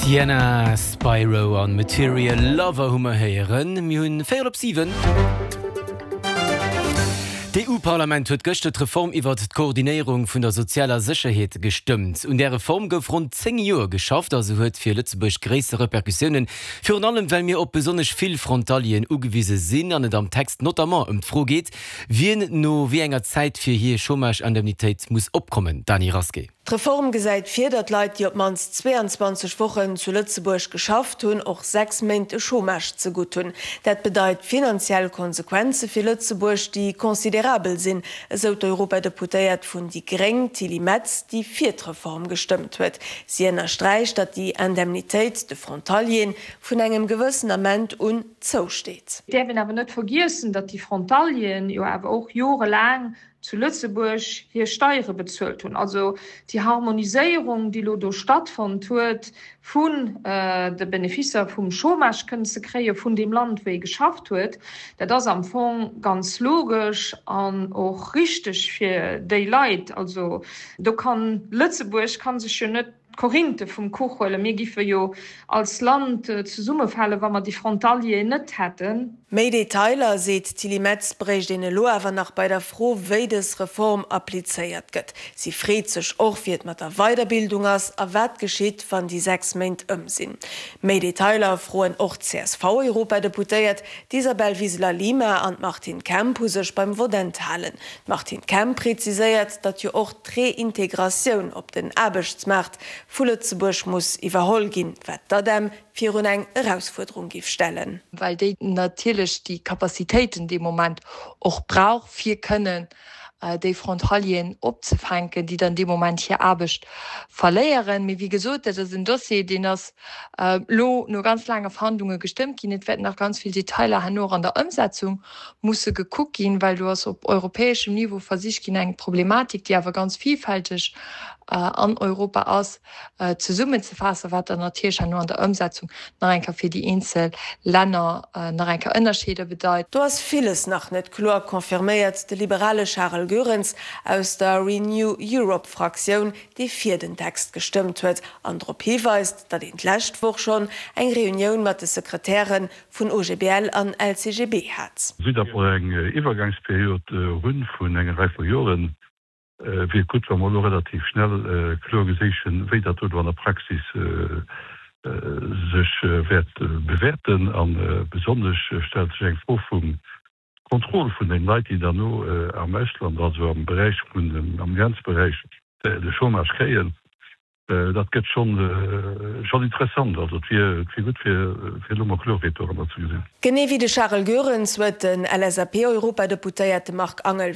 Sienna, Spyro an Material Lover hu mer héieren. Mir hunn véierel op 7. D'EU-Parlament huet gëschter d'Reform iwwert d'Koordinéierung vun der sozialer Sécherheet gestëmmt. Un där Reform gouf ronn 10 Joer geschafft a se huet fir Lëtzebuerg gréisser Repercussiounen, virun allem well mir op besonnesch vill Frontalieren ugewise sinn an et am Text notamment ëm d'Fro geet, wien no wéi enger Zäit fir hir Chômage-Indemnitéit muss opkommen. Dany Rasqué. D'Reform gesäit vir, datt Leit, déi op d'mannst 22 Wochen zu Lëtzebuerg geschafft hunn, och 6 Méint de Chômage zegutt hunn. Dat bedeit finanziell Konsequenze fir Lëtzebuerg, déi considerabel sinn, esou d'Europadeputéiert vun déi Gréng, Tilly Metz, déi fir d'Reform gestëmmt huet. Si ënnersträicht, datt déi Indemnitéit de Frontalieren vun engem gewëssen Ament un zousteet. Et däerf een awer net vergiessen, datt déi Frontalieren jo awer och jorelaang zu Lëtzebuerg hir Steiere bezuelt hunn. Also déi Harmoniséierung, déi elo do stattfonnt huet, vun de Beneficer vum Chômage kënnen ze kréie vun deem Land, wou ee geschafft huet, dat ass am Fong ganz logesch an och richteg fir déi Leit. Also do kann Lëtzebuerg ka sech jo net d'Korinte vum Kuch huelen. Mir giffe jo als Land zesummefalen, wa mer déi Frontalieren net hätten. Méi Detailer, seet d'Tilly Metz, bréicht een elo awer nach bei der Fro, wéi dës Reform applizéiert gëtt. Si freet sech och, wéi et mat der Weiderbildung ass a wat geschitt, wann déi 6 Méint ëm sinn. Méi Detailer froen och d'CSV-Europadeputéiert. D'Isabel Wiseler-Lima an d'Martine Kemp hu sech beim Vott enthalen. D'Martine Kemp preziséiert, datt jo och d'Reintegratioun op den Aarbechtsmaart vu Lëtzebuerg muss iwwerholl ginn, wat d'ADEM virun eng Erausfuerderung géif stellen. Well déi natierlech déi Capacitéiten dee Moment och brauch, fir kënnen déi Frontalieren opzefänken, déi dann dee Moment hir Aarbecht verléieren. Mee wéi gesot, dat ass en Dossier, deen ass elo no ganz laange Verhandlunge gestëmmt ginn. Et wäerten nach ganz vill Detailer herno och an der Ëmsetzung musse gekuckt ginn, well do ass op europäeschem Niveau versicht ginn, eng Problematik, déi awer ganz vielfälteg an Europa ass, zesummenzefaassen, wat dann natierlech herno an der Ëmsetzung nach eng Kéier fir déi eenzel Länner nach eng Kéier Ënnerscheeder bedeit. Do ass villes nach net kloer, confirméiert de liberale Charel Goerens aus der Renew Europe Fraktioun, dee fir den Text gestëmmt huet an drop hiweist, datt een d'lescht Woch schonn eng Reunioun mat de Sekretäre vun OGBL an LCGB hat. Vue datt mer eng Iwwergangsperiod hunn vun enger Rei vu Joren, wier et gutt, wa mer elo relativ schnell kloer geséichen, wéi dat do elo an der Praxis sech wäert bewäerten. A besonnesch stellt sech eng Fro vum Contrôle vun den Leit, déi dann no am Ausland, also am Beräich vun, am Grenzberäich de Chômage kréien. Dat gëtt schonn schonn interessant. Also et wier et wier gutt fir fir elo mol Kloerheet doranner ze gesinn. Genee wéi de Charel Goerens huet den LSAP-Europadeputéierte Marc Angel.